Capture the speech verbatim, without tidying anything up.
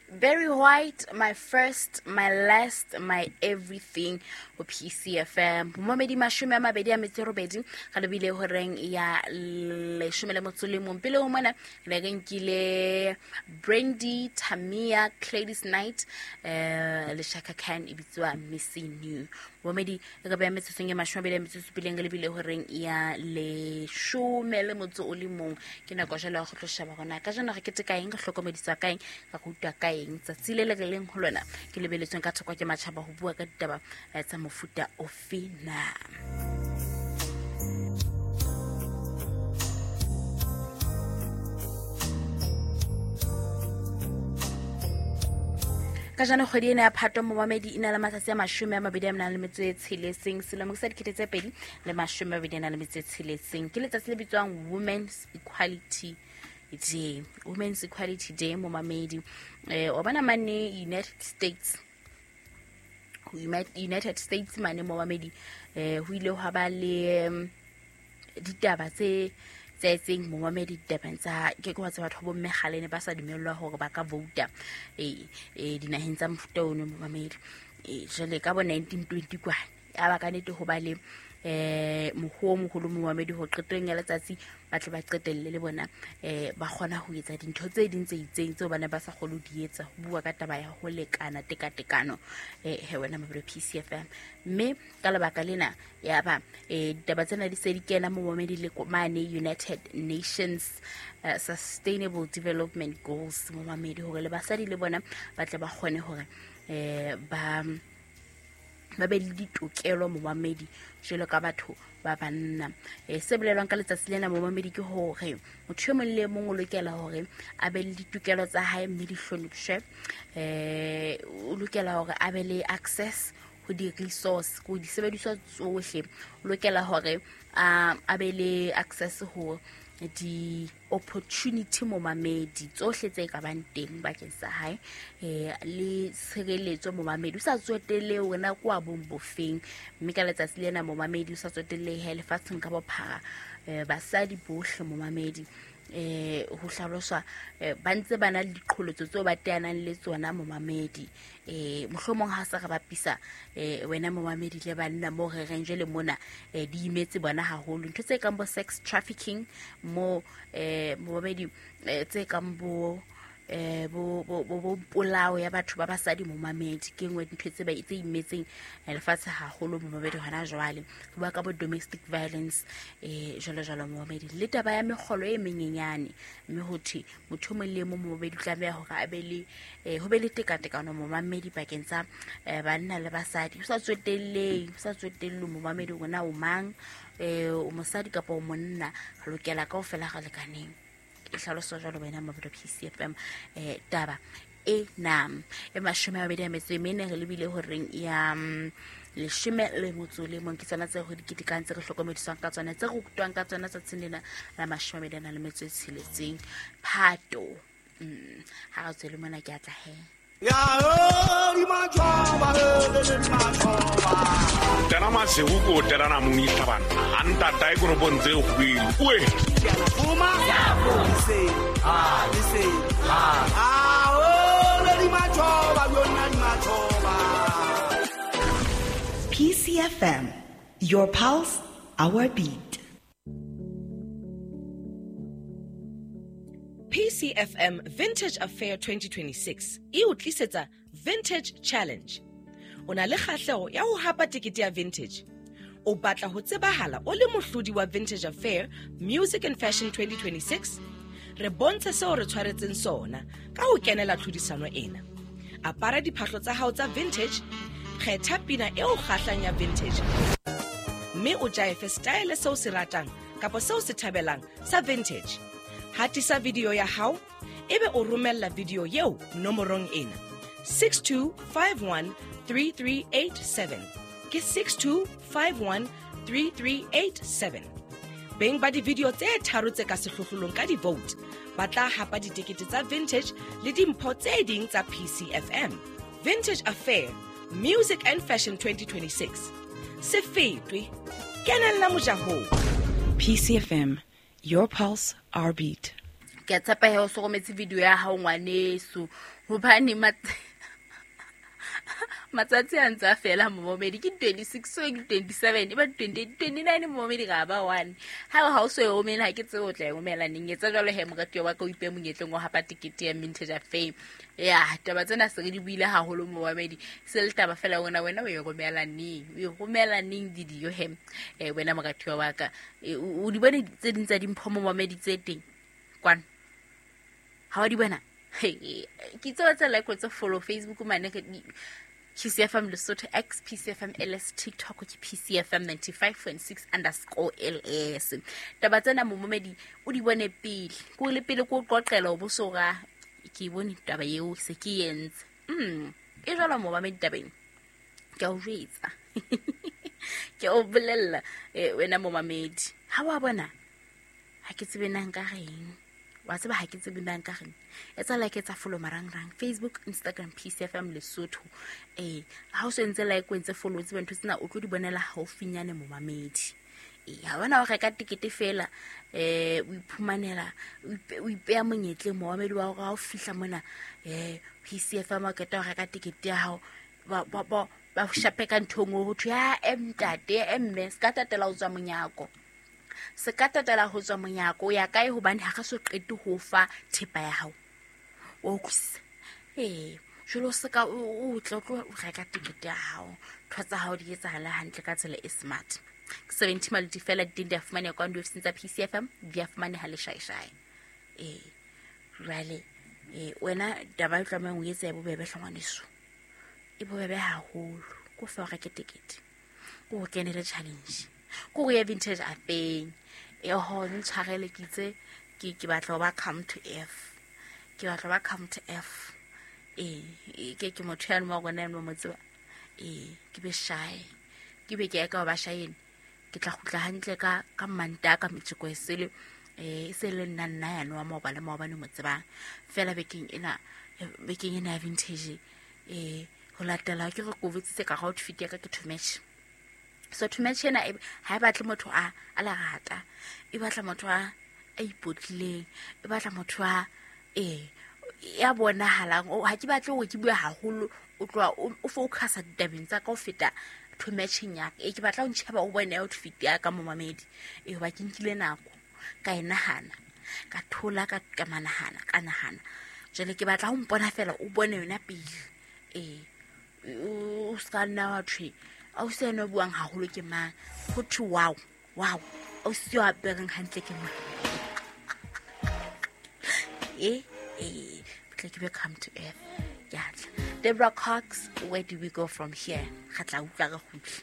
Barry White, my first, my last, my everything ho P C F M. Momedi mashome a mabedi a metso e robedi ga lebile horeng ya leshome le motso le mong. Pele ho mona re re nkile Brandy, Tamia, Gladys Knight, eh le Chaka Khan e bitswa Missing You. Momedi re ba metsotsong e mashome a mabedi a metso e supileng re lebile horeng ya leshome le motso o le mong. Ke nako jwale ya go tlo sheba hore na kajeno re keteka eng, re hlokomediswa ka eng, re rutwa ka eng. Tsatsi le le re leng ho lona ke lebeletsweng ka thoko ke matjhaba ho bua ka ditaba tsa mofuta ofe na. Kajeno kgwedi ena ya Phato momamedi e na le matsatsi a mashome a mabedi a nang le metso e tsheletseng, selemo sa dikete tse pedi le mashome a mabedi a nang le metso e tsheletseng. Ke letsatsi le bitswang Women's Equality Day. Women's Equality Day momamedi. Eh o bona mane United States, United States mane momamedi eh ho ile hwa ba le ditaba tse tse tseng momamedi ditabeng tsa ke ke wa tseba batho bo mme kgale ne ba sa dumellwa hore ba ka vouta eh eh dinaheng tsa mofuta ono momamedi. Eh jwale ka bo nineteen twenty kwana ya ba ka nete ho ba le eh moho moholo momamedi ho qetong ya letsatsi ba tle ba qetelle le bona eh ba kgona ho etsa dintho tse ding tse itseng tseo bana ba sa kgone ho di etsa, ho bua ka taba ya ho lekana tekatekano eh he wena mabelo P C F M. Mme ka lebaka lena ya ba eh ditaba tsena di se di kena momamedi le mane United Nations uh, Sustainable Development Goals momamedi, hore le basadi le bona ba tle ba kgone hore eh ba ba be le ditokelo momamedi jwalo ka batho ba banna. Eh se bolelwang ka letsatsi lena momamedi ke hore motho e mong le mong o lokela hore a be le ditokelo tsa hae mme di hlonepshwe. Eh o lokela hore a be le access ho di-resource, ko disebediswa tsohle. O lokela hore a be le access ho di-opportunity momamedi tsohle tse ka bang teng bakeng sa hae, eh le tshireletso momamedi o sa tsotelle hore na kwa bong bofeng. Mme ka letsatsi lena momamedi o sa tsotelle he lefatsheng ka bophara eh basadi bohle momamedi eh ho hlaloswa ba ntse ba na le diqholotso tseo ba teanang le tsona momamedi. Eh mohlomong ha sa re bapisa eh wena momamedi le banna mo re reng jwale mona eh di imetse bona haholo ntho tse kang bo sex trafficking mo eh momamedi tse kang bo eh bo bo bo polao ya batho ba basadi momamedi ke nngwe dintho tse ba tse imetseng lefatshe haholo momamedi hona jwale. Ho bua ka bo domestic violence eh jwalo jwalo momamedi, le taba ya mekgolo e menyenyane, mme ho thwe motho mong le mong momamedi o tlameha hore a be le ho be le tekatekano momamedi pakeng tsa banna le basadi, ho sa tsotelleng ho sa tsotelleng momamedi hore na o mang eh o mosadi kapa o monna, re lokela kaofela re lekaneng. E hlaloso jwalo wena mabelo P C F M eh taba e na e mashome a mabedi a metso e mene re lebile horeng ya leshome le motso le mong. Ke tsona tse ho di ketekang tse re hlokomediswang ka tsona tse re rutwang ka tsona tsatsing lena la mashome a mabedi a nang le metso e tsheletseng Phato. Ha re tswele mona ke atla he. Tena masihu ko tena mongisa bana anta tai go bontse go we P C F M, your pulse, our beat. P C F M Vintage Affair twenty twenty-six e o tlisetsa Vintage Challenge. O na le kgahleho ya ho hapa tekete ya Vintage. O batla ho tsebahala o le mohlodi wa Vintage Affair Music and Fashion twenty twenty-six? Re bontshe seo re tshwaretseng sona ka ho kenela tlhodisano ena. Apara diphahlo tsa hao tsa vintage, kgetha pina e o kgahlang ya vintage, mme o jaefe style seo se ratang kapa seo se thabelang sa vintage. Hatisa video ya hao ebe o romella video eo nomorong ena six two five one three three eight seven. Ke six two five one three three eight seven. Beng ba di-video tse tharo tse ka sehlohlolong ka di-vote ba tla hapa ditekete tsa vintage le dimpho tse ding tsa P C F M. Vintage Affair Music and Fashion twenty twenty-six. Se fetwe, kenella mojahong. P C F M, your pulse, our beat. Ke a tshepa he o so rometse video ya hao ngwaneso hobane matsatsi a ntse a fela momamedi ke twenty-six so ke twenty-seven e ba twenty-eight twenty-nine momamedi ga ba one. Ha ha o so e romela ha ke tsebe o tla e romela neng. Etsa jwalo he moratuwa wa ka o ipe monyetleng wa hapa tekete ya Vintage Affair. Ya taba tsena se re di buile haholo momamedi, se le taba fela wena wena o e romela neng, o e romela neng didio he eh wena moratuwa wa ka. O di bone tse ding tsa dimpho momamedi tse teng kwana ha wa di bona. Ke tseba tse like tse follow Facebook mane P C F M Lesotho X, P C F M L S, TikTok ke P C F M ninety-five point six underscore L S. Taba tsena momamedi o di bone pele. Ko le pele ko qoqela o bosora ke bone taba eo se ke entse. Mm, e jwalo momamedi tabeng. Ke a o jwetsa. Ke o bolella wena momamedi. Ha wa bona ha ke tsebe nang ka reng. Wa tseba ha ke tsebe nang ka reng. Etsa like etsa follow marangrang Facebook, Instagram P C F M Lesotho. Eh ha o se ntse like o ntse follow tsebe ntho tsena o tlo di bonela haufinyane momamedi. Eh ha bona o reka tikete fela eh o iphumanela o ipeya monyetleng momamedi wa hore ha o fihla mona eh P C F M o qeta ho reka tikete ya hao ba ba ba ba shape ka nthong ho thwe ya ntate mme se ka tatela ho tswa monyako. Se ka tatela ho tswa monyako ya kae hobane ha re so qete ho fa thepa ya hao. O utlwisisa? Eh, jwalo se ka o tla tlo reka tikete ya hao. Ntho tsa hao di etsahala hantle ka tsela e smart. Ke seventy maluti fela di di a fumaneha kwa diofising tsa P C F M, di a fumaneha leshaeshae. Eh, jwale eh wena taba e tlamehang o etsa e bobebe hle ngwaneso. E bobebe haholo. Ko fa o reke tikete. Ko o kenele challenge. Ko go ya Vintage Affair. E ho ntshwarele ke itse ke ke batla ho ba come to F. Ke batla ba come to F. Eh ke ke motho ya mo rona mo motseba. Eh ke be shy. Ke be ke ya ka ba shy ene. Ke tla kgutla hantle ka ka manta ka metjeko e sele eh se le nna nna ya no wa maobane maobane mo tsebang. Fela bekeng ena bekeng ena ya Vintage eh ho latela ke re kovetse ka outfit ya ka ke too much. So too much ena ha e batle motho a a lerata, e batla motho a a ipotlileng, e batla motho a eh ya bonahalang. Ha ke batle hore ke bue haholo o tloha o focusa ditabeng tsa ka ho feta too much ya ka. E ke batla ho ntjheba o bone outfit ya ka momamedi. E hoba ke nkile nako ka e nahana, ka thola ka ka manahana ka nahana. Jwale ke batla ho mpona fela o bone yona pele. Eh o ska nna wa thwe au se no buang haholo ke mang, ho thwe wow wow au se wa apereng hantle ke mang. Eh eh tle ke be come to earth. Ya tla Deborah Cox, where do we go from here? Ga tla utlwa re kgutla.